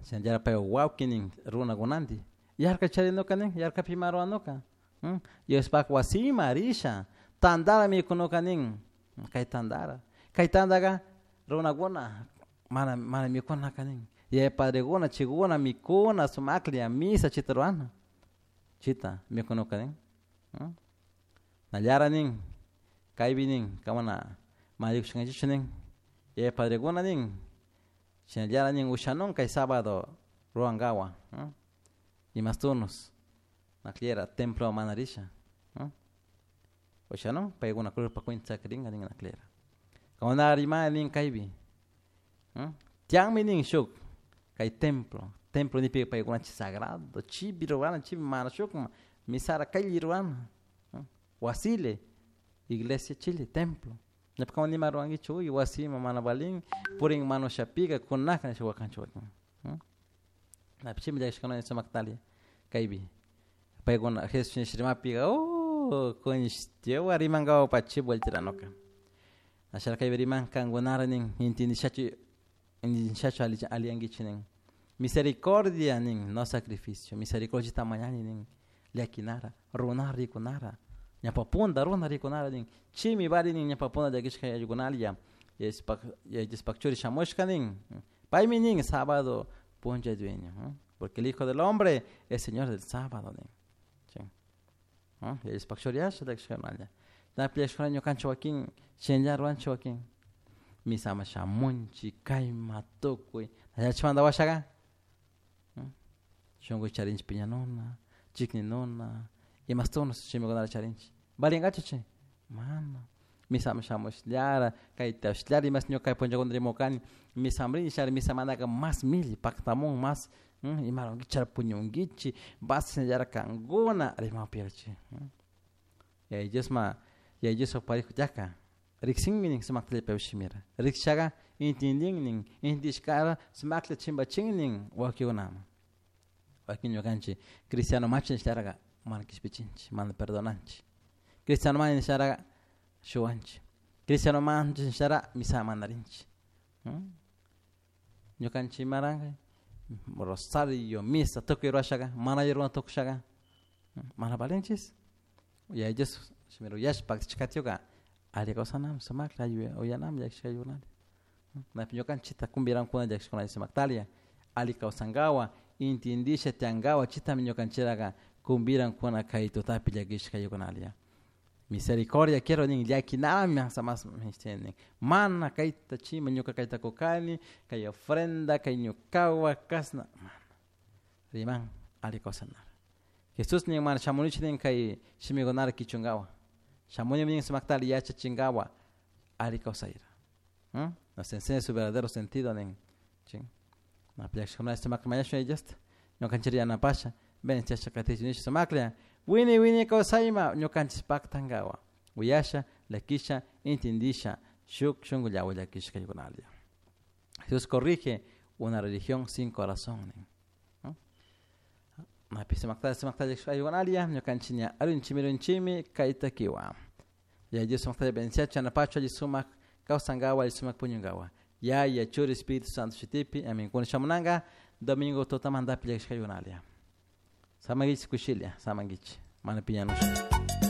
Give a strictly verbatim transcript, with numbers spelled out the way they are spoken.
Shinallara pay wawki nin runakunanti yarka charinuka nin yarkapi ima ruranuka Diospak wasima risha tantara mikunuka nin kay tantara kay tantaka runakuna mana mana mikunaka nin yaya padrekuna chaykuna mikuna sumaklla misa chayta rurana chayta mikunuka nin nallara nin kaypi nin kamana mana rikushkanchikchu nin yaya padrekuna nin shinallara nin ushanun kay sábado rurankawan imastunus nakllera templo mana risha ushanun paykuna cruzpa cuenta sakirinka nin naklera kuna rimani nin kaypi tiyanmi nin shuk kay templo templo nipika paykuna chay sagrado chaypi rurana chaypi mana shukman misara kaylli rurana wasile iglesia chile templo ñawpa nima rurankichik uy wasima mana valin purin manushapika kunaka nisha wakanchik wakin chaymi llakishkuna sumaktalla kaypi paykuna Jesus rimapika oh kunishtiwa rimankapak chi vueltiranuka asha kaypi riman kankunara nin intindishachu intindishachu alliyankichik nin misericordia nin no sacrificio misericordia mañani nin llakinara runara rikunara ñawpa punta runa rikunara nin chaymi vali nin ñawpa punta llakishka yayukunalla Yaya Diospak churi shamushka nin paymi nin sábado punlla dueño porque el hijo del hombre es señor del sábado nin Yaya Diospak churi asha llakishkakunalla llakishkuna ñukanchik wakin shinallara ruranchik wakin misama shamunchik kayma tukuy chaymanta washaka shunku charinchik piñanuna chikninuna imastunas shimikunata charinchik valinkachu chay mana misama shamushllara kaytashlara imash ñuka kay punllakuna rimukani misaman rini misamantaka mas milli paktamun mas ima rurankichik puñunkichik vas shinallara kankuna rimakpi Yaya Diosma Yaya Diospak parejo tiyaka riksinmi nin sumakta paypak shimira rikshaka intindin nin intindishkara sumakta chimpachin nin wakinkunaman wakin ñukanchik cristiano machi nishtaraka mana kishpichinchik mana perdonanchik cristiano mani nisharaka shuwanchik cristiano manchik nishara misa mana rinchik ñukanchik imaranka rosario misa tukuy rurashaka mana alli runa tukushaka mana valinchis Yaya Dios shimira uyashpa paktachikatiuka alli kawsanami sumaklla alli uyanami llakishkaykunata napi ñukanchikta kumbirankuna llakishkuna sumaktalla alli kawsankawan intindisha tiyankawan chaytami ñukanchiraka kumbirankuna kay tutapi llakishkaykunalla misericordia quiero nin llakinami mas nin mana kayta chima ñuka kayta kukani kay ofrenda kay ñukawan kashna mana riman alli kawsanara Jesús nin mana shamunichu nin kay shimikunata kichunkawan shamuni nin sumaktalla yachachinkawan alli kawsayra nos enseña su verdadero sentido nin llakishkuna sumakta mañashun Yaya Diosta ñukanchik yanapasha bendiciasha katichun nisha sumaklla wini wini kawsayma ñukanchik paktankawan uyasha llakisha intindisha shuk shunkullawan llakishkaykunalla Jesús corrige una religión sin corazón nin napi sumakta sumakta llakishkaykunalla ñukanchik ña arunchimi runchimi kayta kiwa Yaya Dios sumakta bendiciachu yanapachu alli sumak kawsankawan alli sumak puñunkawan Yaya Churi Espíritu Santo shutipi amin kuna shamunanka domingo tutamantapi llakishkaykunalla samankichik kushilla samankichik mana piñanushpa.